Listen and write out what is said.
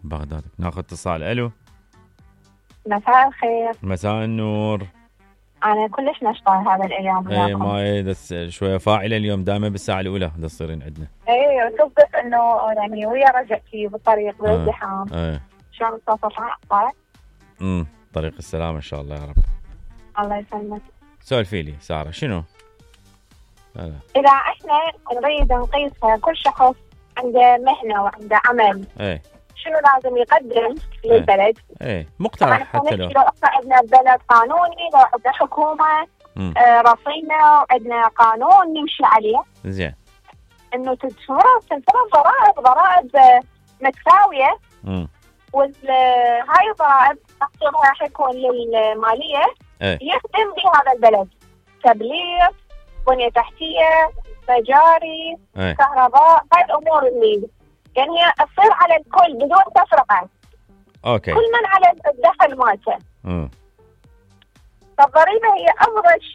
بغداد. ناخذ اتصال. الو. مساء الخير. مساء النور. انا كلش نشطة هذا الايام وياكم. ما شويه فاعله اليوم، دائما بالساعه الاولى تصيرين عندنا. تصدق انه يعني ويا رجعتي بالطريق بالازدحام. شلون الصوت طالع؟ طريق السلامه ان شاء الله يا رب. الله يسلمك. سولفي لي ساره شنو؟ اذا احنا نريد نقيس كل شخص عنده مهنه وعنده عمل، شنو لازم يقدم للبلد؟ مقترح حتى لو عندنا بلد قانوني، لو عندنا حكومه رصينه وعندنا قانون نمشي عليه. زين. انه تنفرض ضرائب متساويه. وهاي الضرائب تقديرها حيكون للماليه يخدم بهذا البلد، تبليغ، بنيه تحتيه، مجاري، كهرباء، هاي الامور اللي يعني هي تصير على الكل بدون تفرقه. اوكي. كل من على الدخل مالته. فالضريبه هي افضل